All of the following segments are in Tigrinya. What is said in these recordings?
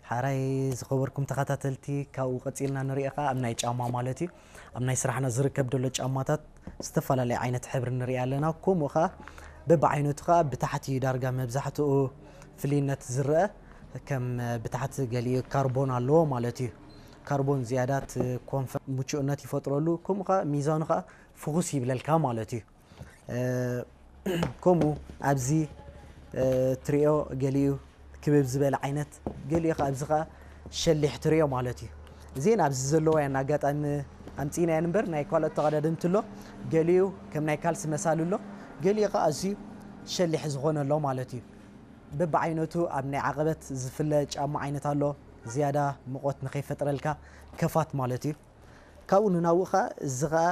ሓራይ ዝኸበርኩም ተኸታተልቲ፣ ካብኡ ቀጺልና ንሪኦ ኸዓ ኣብ ናይ ጫማ ማለት እዩ። ኣብ ናይ ስራሕና ዝርከብ ዘሎ ጫማታት ዝተፈላለየ ዓይነት ሕብሪ ንርኢ ኣለና። ከምኡ ኸዓ በብዓይነቱ ኸዓ ብታሕቲ ዳርጋ መብዛሕትኡ ፍልይነት ዝረአ ከም ብታሕቲ ገሊኡ ካርቦን ኣለዎ ማለት እዩ። ካርቦን ዝያዳ እቲ ኮንፈ-፣ ምቹእነት ይፈጥረሉ። ከምኡ ኸዓ ሚዛኑ ኸዓ ፍኹስ ይብለልካ ማለት እዩ። እ፣ ከምኡ ኣብዚ፣ እ፣ ትሪኦ ገሊኡ ክብብ ዝበለ ዓይነት፣ ገሊኡ ኸዓ ኣብዚ ኸዓ ሸሊሕ ትሪኦ ማለት እዩ። እዚአን ኣብዚ ዘለዋ እየን፣ ኣጋጣሚ ኣምፂእናየን እምበር ናይ ካልኦት ተቐዳደምቲ ኣሎ። ገሊኡ ከም ናይ ካልሲ መሳሊ ኣሎ፣ ገሊኡ ኸዓ ኣዝዩ ሸሊሕ ዝኾነ ኣሎ ማለት እዩ። በብዓይነቱ ኣብ ናይ ዓቐበት ዝፍለ ጫማ ዓይነት ኣሎ፣ ዝያዳ ሙቐት ንኸይፈጥረልካ ከፋት ማለት እዩ። ካብኡ ንናብኡ ኸዓ እዚ ኸዓ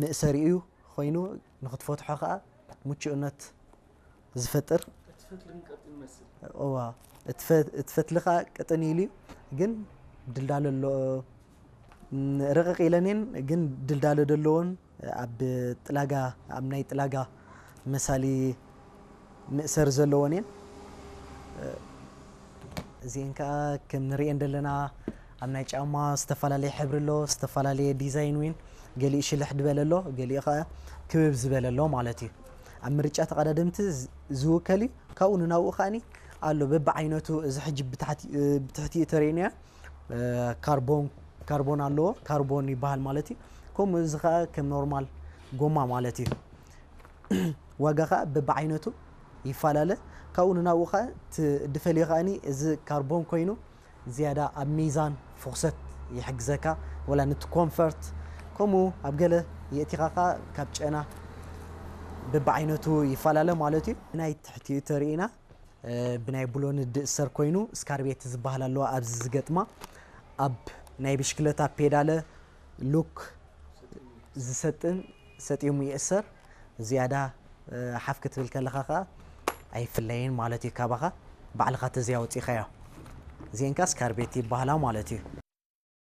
መእሰሪኡ ኮይኑ ንኽትፈትሖ ኸዓ ምቹእነት ዝፈጥር። እዋ፣ እቲ ፈ-፣ እቲ ፈትሊ ኸዓ ቅጥን ኢሉ እዩ፣ ግን ድልዳለ ኣሎ። ን-፣ ርቕቕ ኢለን እየን፣ ግን ድልዳለ ዘለዎን ኣብ ጥላጋ፣ ኣብ ናይ ጥላጋ መሳሊ መእሰሪ ዘለዎን እየን። እዚአን ከዓ ከም ንሪአን ዘለና ኣብ ናይ ጫማ ዝተፈላለየ ሕብሪ ኣሎ፣ ዝተፈላለየ ዲዛይን እውን፣ ገሊኡ ሽልሕ ዝበለ ኣሎ፣ ገሊኡ ከዓ ክብብ ዝበለ ኣሎ ማለት እዩ። ኣብ ምርጫ ተቐዳደምቲ ዝ-፣ ዝውከል እዩ። ካብኡ ንናብኡ ከዓኒ ኣሎ በብዓይነቱ። እዚ ሕጂ ብታሕቲ፣ ብትሕቲኡ ተርእዩና፣ እ፣ ካርቦን፣ ካርቦን ኣለዎ፣ ካርቦን ይበሃል ማለት እዩ። ከምኡ እዚ ከዓ ከም ኖርማል ጎማ ማለት እዩ። ዋጋ ከዓ በብዓይነቱ ይፈላለ። ካብኡ ንናብኡ ከዓ እቲ ድፈልዮ ከዓኒ እዚ ካርቦን ኮይኑ ዝያዳ ኣብ ሚዛን ፍኹሰት ይሕግዘካ፣ ወላ ነቲ ኮንፈርት፣ ከምኡ ኣብ ገለ የእቲኻ ከዓ ካብ ጨና በብዓይነቱ ይፈላለ ማለት እዩ። ናይ ትሕቲኡ ተርእዩና፣ እ፣ ብናይ ብሎን ድእሰር ኮይኑ ስካርቤት ዝበሃል ኣለዋ ኣብዚ ዝገጥማ። ኣብ ናይ ብሽክለታ ፔዳለ ሉክ ዝሰጥን ሰጢሙ ይእሰር። ዝያዳ፣ እ፣ ሓፍ ክትብል ከለኻ ኸዓ ኣይፍለይን ማለት እዩ ካባኻ፣ ባዕልኻ ተዝያ ኣውፂእኻዮ። እዚአን ከኣ ስካርቤት ይበሃላ ማለት እዩ።